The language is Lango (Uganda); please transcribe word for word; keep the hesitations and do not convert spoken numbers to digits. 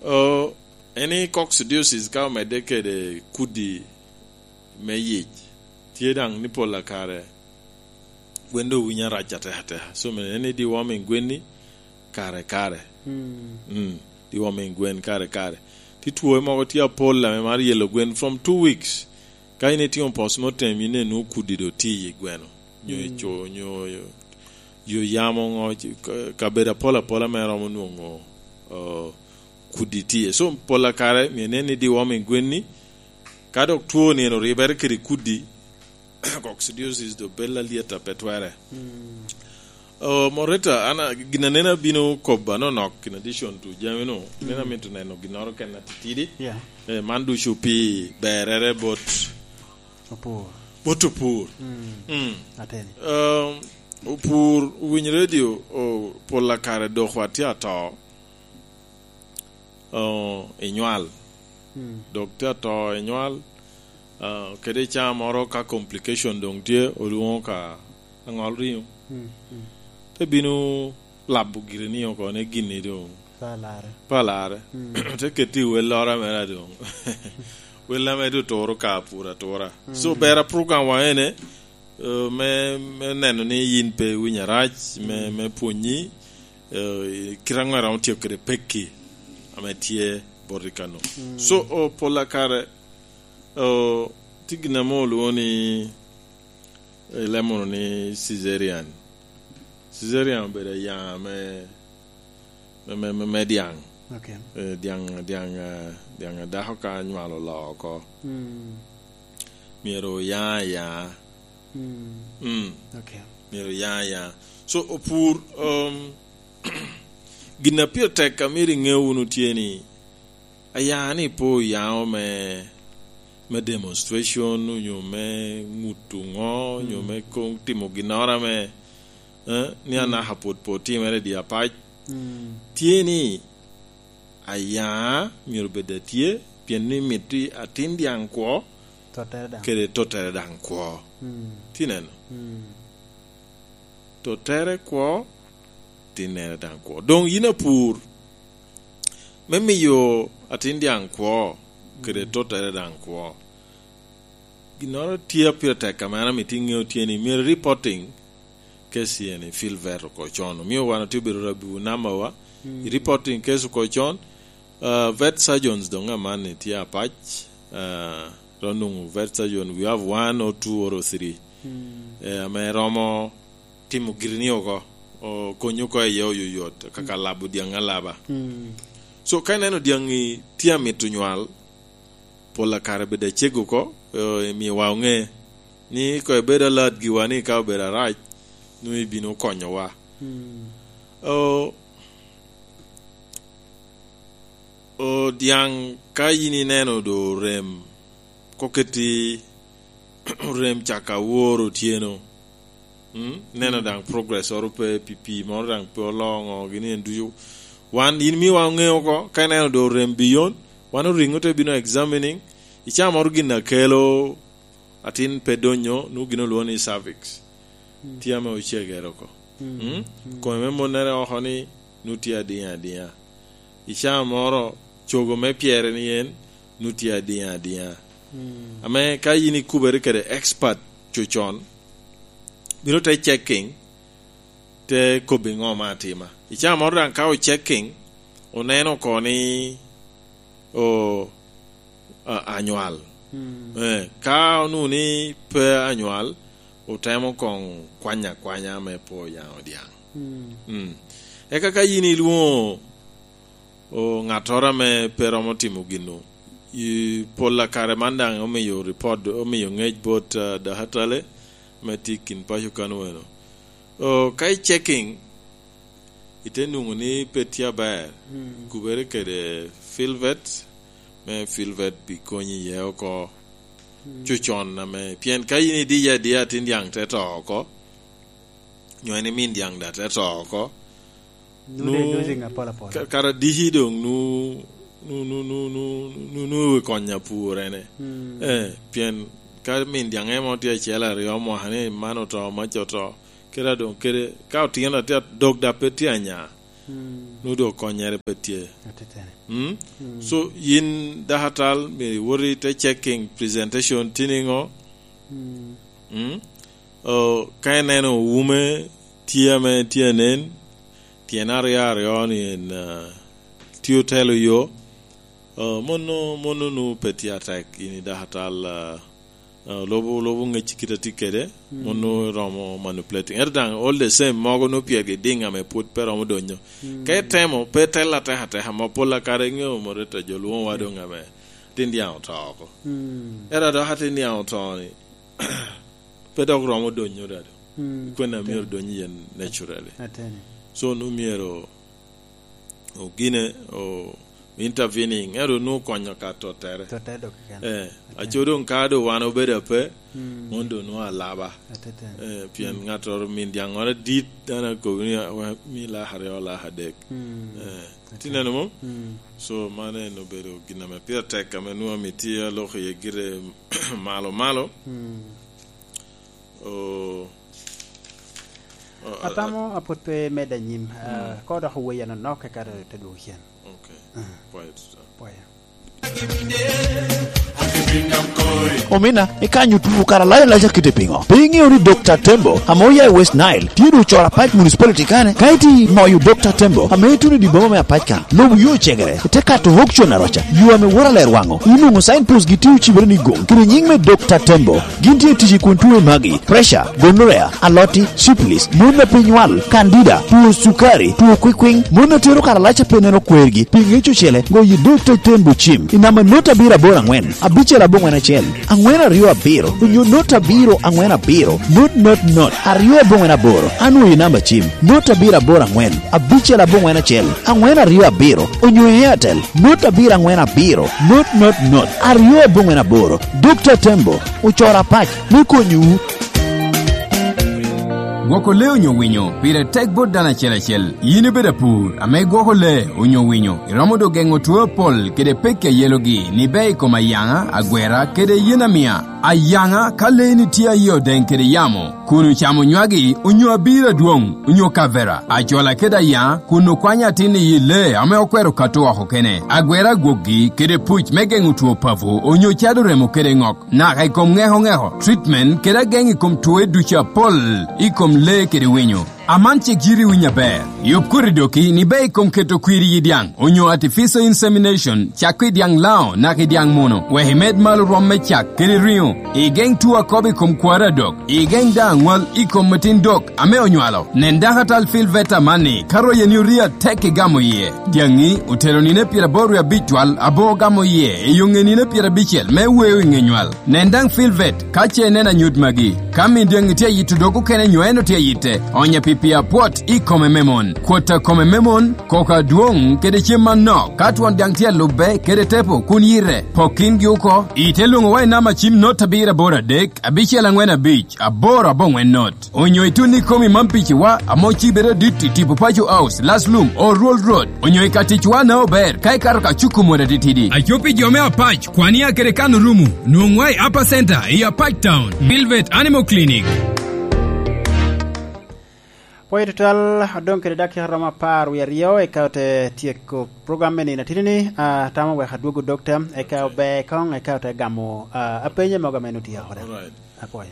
Oh, en i coccidiosis ka omedde kede kudi me yic, tye daŋ ni pol a kare gwen doŋ winyo arac atekateka. So, me en i deworming gwen ni kare kare. Mm. Mm, deworming gwen kare kare. Ti two mogo tye apol ame mar yelo gwen from two weeks. Ka in itimo postmortem, in enu kudi do tye i gweno. Nyo i co, nyo yo, yo yamo ŋo, ci-, ka-, kabedo apol apola me romo nwoŋo, oh, kudi tye. So, pol a kare, myero inen ni deworming gwen ni, ka dok two ni en oribere kede kudi, coccidiosis do bella lieta pe twere. Mm. Oh, Moreta, an a-, gin aneno abino kobo anonok in addition to jami no. Mm. Neno amito neno ginnoro ken atitidi. Yeah. Eh, man ducu pi berere bot opur. Bot opur. Mm. Mm. Ateni. Um, opur, winy radio, o, pol a kare dok watye ato. Oh, inywal. Mm. Dok tye ato inywal, ah, kede i caa moro ka complication doŋ tye, olwoŋo ka aŋol riŋo. Mm, mm. Te bino labo giri ni oko ni gini doŋ. Palare. Palare. Mm. Te keti i welloro mere doŋ. Wel ame doŋ turo ka pur atura. So, mm, ber a program wa ene, eh, me, me neno ni yin pe iwinyo arac, me, mm, me pwonyi, eh, kite aŋo iromo tye kede pekki ame tye boti kano. Mm. So, oh, pol a kare, oh, tye gin ame olwoŋo ni, eh, ilemono ni cesarean. Cesarean obedo aya me me, me, me, me dyaŋ. Okay. Eh, dyaŋ, dyaŋ, eh, dyaŋ a dako ka nywalo oloo oko. Mm. Myero oya aya. Mm. Mm. Okay. Myero oya aya. So, opur, um, gin a pire tek a myero iŋe wunu tye ni, aya ni pe oyaŋo me, me demonstration, onyo me ŋuto ŋo, onyo, mm, me koŋ timo ginnoro ame, eh, ni, mm, anaka pwod pe otimere i dye apac. Mm. Tye ni, aya myero bed atye, pien ni mito atin dyaŋ kwo, tottere daŋ. Kede tottere daŋ kwo. Mm. Tye neno? Mm. Tottere kwo, tinnere daŋ kwo. Doŋ yin apur, me miyo atin dyaŋ kwo, kede, mm, tottere daŋ kwo, ginnoro tye a pire tek ame an amito iŋeo tye ni myero reporting case eni field vet oko con. Omio wan otye obedo rabiwu namba wa. Mm. I reporting case oko con, uh, vet surgeons doŋ amanni tye apac, uh, ro nwoŋo vet surgeon, we have one or two or three. Mm. Eh, ame romo timo giri ni oko, o, konyo oko iye oyoyot, kaka, mm, labo dyaŋ alaba. Mm. So, ka ineno dyaŋi tye amito nywal, pol a kare bedo acego oko, o, imiyowa oŋe ni koŋ ibed alat giwa ni ka obedo arac, nwoŋo ibino konyowa. Mm. O, o, dyaŋ ka yin ineno do orem, koketi orem caka awor otyeno, mm? Neno, mm, daŋ progress oro pe, pi pii moro daŋ pe oloŋo, gin en ducu. Wan, yin miwa oŋeo oko, ka ineno do orem biyon, wan oriŋo te bino examining, icaa moro gin a kelo atin pe donyo, nwoŋo gin olwoŋo ni cervix. Mm. Tye ame ocegere oko. Mm. Mm? Mm. Kome me monnere oko ni, nwoŋo tye adiŋ adiŋa. I caa moro, cogo me pyere ni en, nwoŋo tye adiŋ adiŋa. Mm. Ame ka yin ikubere kede expert cocon, bino te checking, te kobbi ŋo ma atima. I caa moro daŋ ka o checking, oneno oko ni, o, a-, anywal. Mm. Eh, ka onwoŋo ni pe anywal, otemo koŋ kwanya akwanya me po yaŋo dyaŋ. Mm. Mm. Eka ka yin ilwoŋo, o, ŋattoro ame pe romo timo gino, i pol a kare man daŋ omiyo report, omiyo ŋec bot, ah, dahatale me tye i kin paco kan weno. O, ka i checking, ite nwoŋo ni pe tye aber, mm, kubere kede field vet, me field vet bi konyi iye oko, mm, cocon ame, pien ka in idiye adiya atin dyaŋ te to oko, nyo en imin dyaŋ daŋ te to oko, nwoŋo dee nu-, losing apol apol. Ka-, kara diki doŋ nu-, nu-, nu i wi kony apur ene. Mm. Eh, pien ka min dyaŋ emo tye acel aryo mwaka ni man oto, mac oto, kede a doŋ kede, ka otino atye adog dok pe tye anya, Mm. Nwoŋo doŋ konnyere pe tye. Ateteni. Mm? Mm. So, yin dakatal, myero iwot i te checking presentation tye niŋo? Mm. Mm? Oh, ka ineno wume tye ame tye anen, tyen aryo aryo ni en, ah, tye otelo yo, ah, mono, mono nwoŋo pe tye atek, yin i dakatal, ah, ah, lubo, lubo ŋec kit a tye kede, mm, mono romo manipulating. Ento daŋ, all the same, mogo nwoŋo pyergi diŋ ame pwod pe romo donyo. Mm. Ka itemo, pe itel atek ateka, ma pol akare iŋeo moreta jo lwoŋowa doŋ ame tin dyaŋ oto oko. Mm. Ento adok atin dyaŋ oto ni, pe dok romo donyo daŋ. Mm. Kwena myero donyo iye naturally. Ateni. So, nwoŋo myero ogine, o intervening, ento nwoŋo konyo ka tottere. Tottere dok keken. Eh, ateni. Aco doŋ ka doŋ wan obedo ape, mm, mono doŋ nwoŋo alaba. Ateten. Eh, pien, mm, ŋattoro min dyaŋŋoro adit, dano akobo ni, "Wa, mi lak aryo, lak adek." Mm. Eh, ateni. Ti neno mo? Mm. So, mano en obedo gin ame pire tek, ame nwoŋo amitye aloko iye gire malo malo. Mm. Oh. Oh, atamo a-, apwod pe medde anyim, ah, mm, ka odoko wei anonok, eka te dwogo cen. Ok. Ah. Pwoyo tuta. Pwoyo. Omina, ikanyo tuo kara lac alac akite piŋo? Pe iŋeo ni Dokta Tembo, ame oya i West Nile, tye doŋ ocoro apac municipality kane? Ka iti moyo Dokta Tembo, ame ituno i dye boma me apac kan, lobo yo ocegere, ite kato auction aroca, yo ame woro aler waŋo, inwoŋo signpost gi tye ocibere ni goŋ, kede nyiŋ me Dokta Tembo. Gin tye tic i kun tuo i magi, pressure, gonorrhea, aloti, syphilis, mon a pe nywal, candida, tuo cukari, tuo kwikwiŋ, mon a tero karalac a pe neno kwergi, pi ŋec ocele, goyo Dokta Tembo cim i namba not abiro aboro aŋwen, abicel aboŋwen acel, aŋwen aryo abiro, onyo not abiro aŋwen abiro, not not not, aryo aboŋwen aboro, anwoyo i namba cim, not abiro aboro aŋwen, abicel aboŋwen acel, aŋwen aryo abiro, onyo i Airtel, not abiro aŋwen abiro, not not not, aryo aboŋwen aboro. Dokta Tembo, ocoro apac me konyowu. Gwoko lee onyo winyo pire tek bot dano acel acel. Yin ibedo apur ame igwoko lee onyo winyo, iromo doŋ geŋo two apol kede pekki a yelogi ni ber i kom ayaŋa, agwera, kede yen amia. Ayaŋa, ka leeni tye a yie odeŋ kede yamo, kun ocamo nywagi onyo abiro adwoŋ, onyo kavera, ajola kede ayaŋa, kun okwanyo atin i yi lee ame okwero kato oko kene. Agwera gwokgi kede puc me geŋo two papo, onyo cado remo kede ŋok, naka i kom ŋeko ŋeko, treatment kede ageŋ i kom twoe ducu apol i kom lee kede winyo. Aman cik yiti winyo aber. Yub koti doki ni ber i kom keto kwir i yi dyaŋ, onyo artificial insemination, cako i dyaŋ Laŋo naka i dyaŋ muno, wek imed malo rwom me cak kede riŋo, igeŋ tuo akobo i kom kwaro adok, igeŋ daŋ aŋwal i kom atin dok ame onywalo. Nen dakatal Phil Veta amanni, ka royeni orie atek igamo iye. Dyaŋi otero nino pyeraboro wie abic twal, abo ogamo iye i yo ŋe nino pyerabicel me weo i ŋe nywal. Nen daŋ Phil Vet ka ce ineno anyut magi. Ka min dyaŋi tye ayito dog okene nyo en otye ayitte, onye pi pii apwot i kome me mon, kwot a kome me mon, koko adwoŋ kede cem manok. Ka twon dyaŋ tye alubbe kede tepo kun yite, pok kingi oko. Ite lwoŋowa i namba cim not abiro aboro adek, abicel aŋwen abic, aboro aboŋwen not. Onyo itun ikomi man piciwa ame ocibere adit i tipo Paco House, Last Lum, Old Road Road. Onyo i ka ticwa na ober ka ikato ka cuku mot atitidi. Aco pi jo me Apac, Kwania kede Kano Rumu, nwoŋwa i Upper Center i Apac Town, Velvet Animal Clinic. Pwoyo tutwal, odoŋ kede dakika romo apar wie aryo, eka ote tyeko program me nino atitini, ah, tamo wek adwogo dokta, eka ober koŋ, eka ote gamo, ah, apenye mogo ame nutye oko. Alright. Apwoyo.